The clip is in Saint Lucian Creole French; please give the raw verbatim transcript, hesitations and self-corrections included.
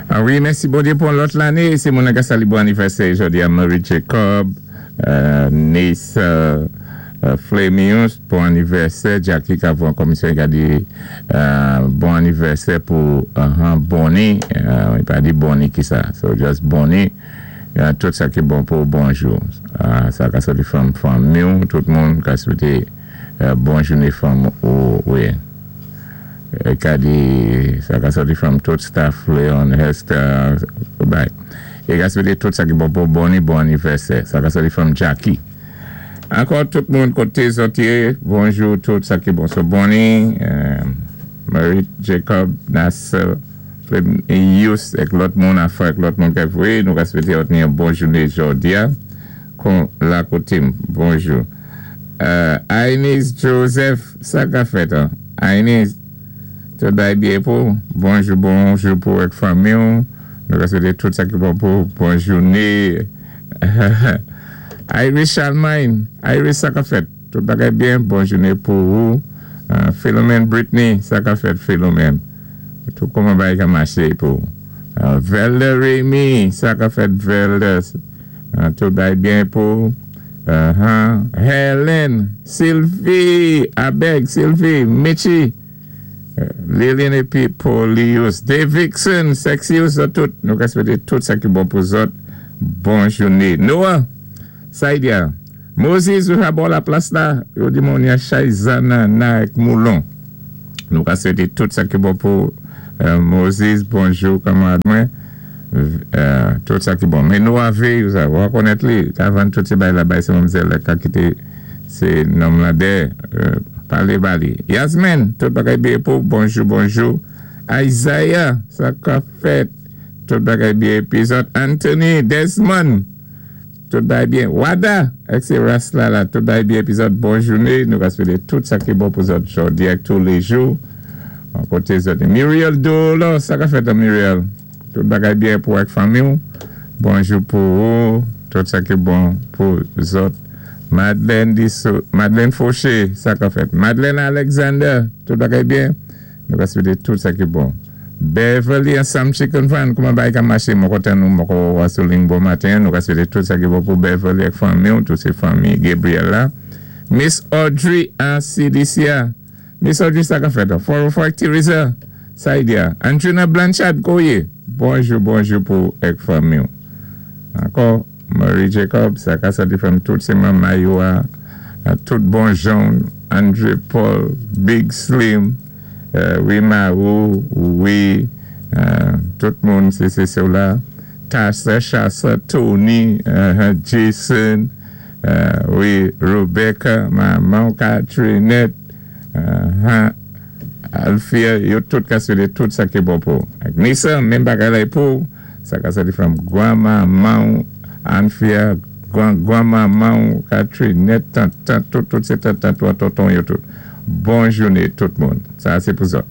Ah wi, mèsi Bondyé pou lòt lanné. Sé moun ka salwé bon anivèsè jòdi-a Marie Jacob, euh, Nice euh, euh, Flemius, bon anivèsè. Jackie Cavon, komisyon ka di euh, bon anivèsè pou uh, Bonnie. Euh, i pa di Bonnie ki sa. So just Bonnie. Euh, tout sa ki bon pou bonjou. Euh, sa ka sòti fanm fanmi, tout moun ka swété euh, bon jouné fanm ou wi. Ka di sa ka sòti from tout staff Leon Hester bye. É ka swété tout sa ki bon pou Bonnie bon anivèsè. Sa ka sòti from Jackie. Ankò tout moun koté zòt yé, bonjou tout sa ki bon. So Bonnie, euh, Marie Jacob, Nasser, Yus, èk lòt moun afè, èk lòt moun ka voyé, nou ka swété yon bon jouné jòdi-a. Kon la koté, bonjou. Euh, Aines Joseph, sa ka fèt, an? Aines, tout bay byen pou, bonjou, bonjou pou èk fanmi, nou ka swété tout sa ki bon pou, bon jouné. Iris Charlemagne, Iris sa ka fèt, tout bagay byen, bon jouné pou ou. Uh, Philomène Brittany, sa ka fèt Philomène. Tout kouman bagay ka maché pou. Uh, Velda Remy, sa ka fèt Velda. Uh, tout bagay byen pou. Uh -huh. Helen, Sylvie, Abeg, Sylvie, Mitchie, uh, Lilian épi Paulius, Davidson, Sexius, tout. Nou ka swété tout sa ki bon pou zòt. Bon jouné. Noah, Saidia, Moses, ou a bò la plas la, yo di moun ya Shaizana na Moulon. Nou ka swété tout sa ki bon pou euh, Moses, bonjou kanmarad mwen. Euh, tout sa ki bon. Men nou avé, ou a konnèt li, avan tout sé bay la bay sé manmzèl la ka kité sé nonm la dèyè, euh, palé ba li. Yasmin, tout bagay byen pou, bonjou, bonjou. Isaiah, sa ka fèt, tout bagay byen. Épi zòt Anthony, Desmond, tout bagay byen. Wada, èk sé ras la la, tout bagay byen. Épi zòt bon jouné, nou ka swété tout sa ki bon pou zòt jòdi ak tous les jours. An koté zòt. Muriel Dolo, sa ka fèt an Muriel. Tout bagay byen pou ak fanmi ou. Bonjou pou ou. Tout sa ki bon pou zòt. Madeleine Disso, Madeleine Fauché, sa ka fèt. Madeleine Alexander, tout bagay byen. Nou ka swété tout sa ki bon. Beverly ansanm Chicken Fan, kouman bagay ka maché, mwen kontan nou, mwen ko wasoling bon maten, nou ka swété tout sa ki bon pou Beverly ak fanmi ou, tout sé fanmi Gabriel la. Miss Audrey an C D C A. Miss Audrey sa ka fèt. Four oh four Teresa, Saidia. Andrina Blanchard, koyé. Bonjou, bonjou pou èk fanmi ou. Ankò, Marie Jacob, sa ka sòti from tout sé manman yo a, a tout bon jan, Andre Paul, Big Slim, euh, wi Marou, wi, euh, tout moun sé sé sé la. Tassa, Chassa, Tony, uh, Jason, euh, wi, Rebecca, maman Catrinette, uh, Alfia, yo tout ka swété tout sa ki bon pou. Ak Nissa, menm bagay la pou, sa ka sòti from granmanman, Anfia, gran granmanman, Catrinette, tant, tant, tout, tout sé tant, tant, tout, tonton, yo tout. Bon jouné tout moun. Sa sé pou zòt.